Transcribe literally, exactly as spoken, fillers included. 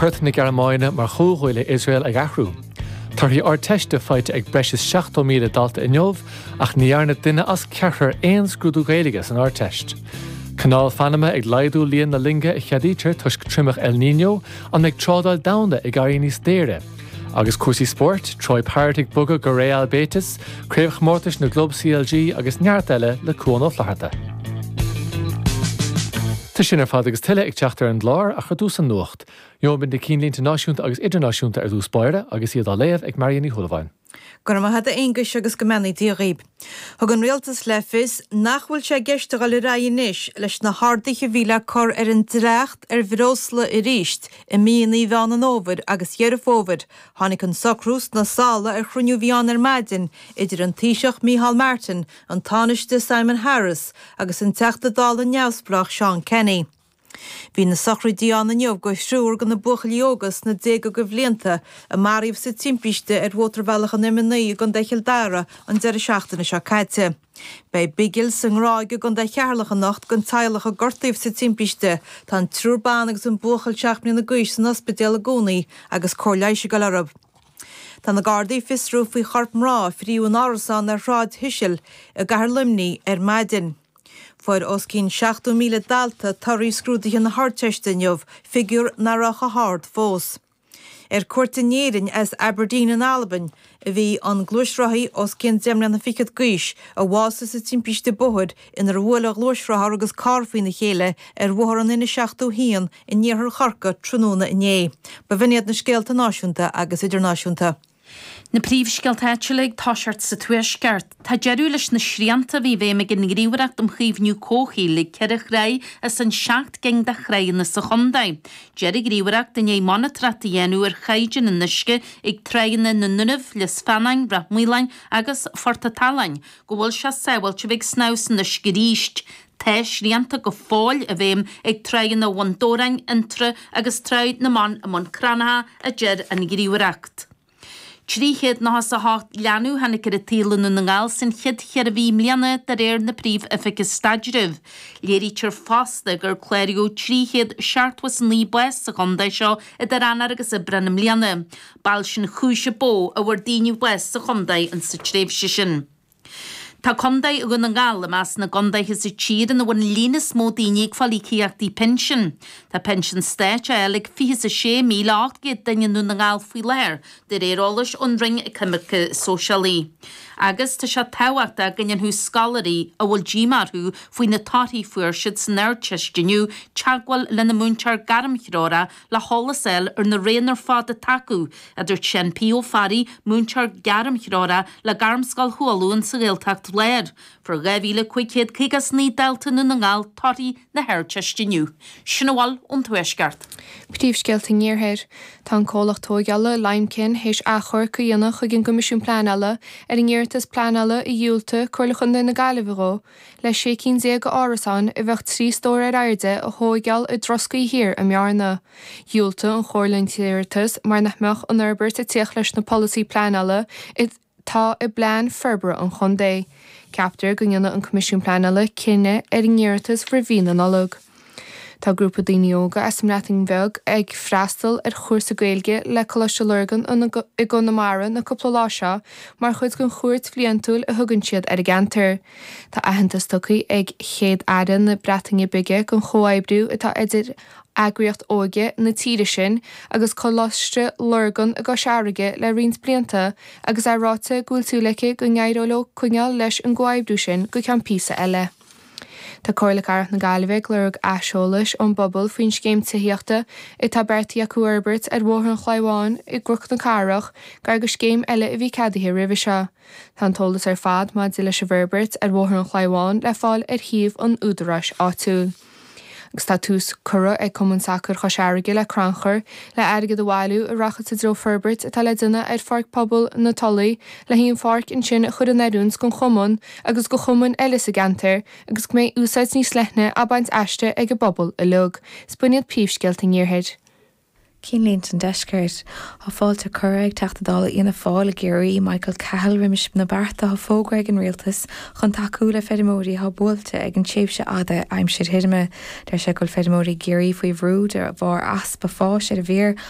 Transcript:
Port na Gearmáine mar chomhghuaillí Iosrael ag athrú. Torthaí Ardteiste faighte ag breis is seachtó míle dalta inniu ach ní dhearna duine as ceathrar aon scrúdú Gaeilge san Ardteist. Canáil Phanama ag laghdú líon na loinge a cheadaítear toisc triomach El Niño an mbeidh trádáil domhanda ag éirí níos daoire. Agus cúrsaí spóirt, Troy Parrott ag bogadh go Real Betis, Craobhchomórtais na gClub CLG agus neart eile le Cuan Ó Flatharta. Tá sin ar fad agus tuilleadh ag teacht ar an gclár ach ar dtús an nuacht. Gheobhaimid na cinnlínte náisiúnta agus idirnáisiúnta ar dtús báire agus iad á léamh ag Marion Ní Shúilleabháin. Go raibh maith agat a Aonghuis agus go mbeannaí Dia dhaoib. Thug an rialtas le fios nach bhfuil sé i gceist a dhul ar aghaidh anois leis na harduithe a bhí le cur ar an dleacht ar bhreosla arís i míonna Mheán an Fhómhair agus Dheireadh Fómhair. Tháinig an socrú sna sála ar chruinniú a bhí ann ar maidin idir an Taoiseach Micheál Martin, an Tánaiste Simon Harris agus an Teachta Dála neamhspleách Seán Kenny. Bhí na sochraidí ann inniu do thriúr de na buachaillí óga sna déaga de bhlianta a maraíodh sa timpiste ar Mhótarbhealach an M a naoi i gContae Chill Dara an deireadh seachtaine seo caite. Beidh bigil sa nGráig i gContae Cheatharlach anocht don teaghlach a gortaíodh sa timpiste. Tá an triúr ban agus an buachaill seacht mbliana d'aois san ospidéal i gcónaí agus cóir leighis ag dul orthu. Tá na Gardaí ag fiosrú faoi chorp mná a fríodh in árasán ar Shráid Thuisil i gCathair Luimnigh ar maidin. Fuair os cionn seachtó míle dalta torthaí scrúduithe na hArdteiste inniu, figiúr nach raibh chomh hard fós. Ar cuairt in Éirinn as Aberdeen in Albain a bhí an gluaisrothaí os cionn deich mbliana fichead d'aois a bhásaigh sa timpiste bóthair inar bhuail a ghluaisrothar agus carr faoina chéile ar bhóthar an N seachtó haon in iarthar Chorcaí tráthnóna inné. Ba bh'in iad na scéalta náisiúnta agus idirnáisiúnta. Na príomhscéalta áitiúla ag toiseacht sa Tuaisceart. Tá deireadh leis na srianta a bhí i bhfeidhm ag an nGníomhaireacht um Chaomhnú Comhshaoil ag ceithre thrá as an seacht gcinn de thránna sa chontae. Deir an Ghníomhaireacht i ndiaidh monatóireacht a dhéanamh ar chaighdeán an uisce ag tránna na nDúnaibh, Lios Feanáin, Ráth Maoláin agus Phort an tSaláin go bhfuil sé sábháilte a bheith ag snámh san uisce arís. Tá srianta go fóill i bhfeidhm ag tránna Bhun Dobhráin, Fhionntrá agus Trá na mBan i mBun Cranncha, a deir an Ghníomhaireacht. Trí chéad nócha is a hocht leanbh a tháinig ar an tsaol i nDún na nGall san chéad cheithre mhí i mbliana de réir na Príomh-Oifige Staidrimh. Léirítear fosta gur cláraíodh trí chéad seachtó is a naoi bás sa chontae seo idir Eanáir agus Aibreán i mbliana. B'fhall sin chúis a ba mhó a bhfuair daoine bás sa chontae insa tréimhse sin. Tá Contae Dhún na nGall i measc na gcontaetha sa tír ina bhfuil an líon is mó daoine ag fáil íocaíochtaí pinsin. Tá pinsean stáit á fháil ag fiche is a sé míle ocht gcéad duine i nDún na nGall faoi láthair, de réir eolais ón Roinn Coimirce Sóisialaí. Agus tá sé tábhachtach go ndéanfadh scoláirí a bhfuil díomá orthu faoi na torthaí a fuair siad san Ardteist inniu teagmháil lena múinteoir gairmthreorach le heolas a fháil ar na roghanna ar fad atá acu, a dúirt Seán P. Ó Fearraigh, múinteoir gairmthreorach le Gairmscoil Chualann sa Ghaeltacht Láir. Fuair dhá mhíle cúig chéad caoga is naoi dalta i nDún na nGall torthaí na hArdteiste inniu. Sin a bhfuil ón Tuaisceart. Príomhscéalta an Iarthair. Tá an comhlacht tógála Limekiln théis achomharc a dhéanamh chuig an gCoimisiún Pleanála ar an iarratas pleanála a dhiúltaigh Comhairle Chontae na Gaillimhe dhó le sé cinn déag d'árasáin a bheadh trí stór ar airde a thógáil i dTroscaí Thiar i mBearna. Dhiúltaigh an Chomhairle an t-iarratas mar nach mbeadh an fhorbairt ag tíocht leis na polasaí pleanála atá i bplean forbartha an chontae. Ceaptar go ndéanfaidh an Coimisiún Pleanála cinneadh ar an iarratas roimh mhí na Nollag. Tá grúpa daoine óga as an mBreatain Bheag ag freastal ar chúrsa Gaeilge le Coláiste Lurgan i gConamara na cúpla lá seo mar chuid den chuairt bhliantúil a thugann siad ar an gceantar. Tá aitheantas tugtha ag Chéad Aire na Breataine Bige don chomhoibriú atá idir eagraíocht óige na tíre sin agus Coláiste Lurgan i gCois Fharraige le roinnt blianta agus é ráite go bhfuil súil aici go n-éireoidh leo coinneáil leis an gcomhoibriú sin go ceann píosa eile. Tá Comhairle Cathrach na Gaillimhe ag lorg aiseolais ón bpobal faoin scéim tithíochta atá beartaithe acu a fhorbairt ar Bhóthar an Chlaí Bháin i gCnoc na Cathrach gar do scéim eile a bhí ceadaithe roimhe seo. Tá an t-eolas ar fad maidir leis an bhforbairt ar Bhóthar an Chlaí Bháin le fáil ar shuíomh an údaráis áitiúil. Agus tá tús curtha ag Cumann Sacair Chois Fharraige le crannchur le airgead a bhailiú a rachaidh sa treo forbairt atá le déanamh ar Pháirc Pobail na Tulaí le haghaidh an pháirc ansin a chur in oiriúint don chumann agus do chumainn eile sa gceantar agus go mbeidh úsáid níos leithne á baint aisti ag an bpobal uilig. Is b'in iad príomhscéalta an Iarthair. Cinnlínte an Deiscirt. Tá fáilte curtha ag Teachta Dála Fhianna Fáil i gCiarraí, Michael Cahill, roimis na bearta atá fógartha ag an Rialtas chun tacú le feirmeoirí atá buailte ag an tréimhse fhada aimsir thirime. Deir sé go bhfuil feirmeoirí i gCiarraí faoi bhrú de bharr easpa fáis ar an bhféar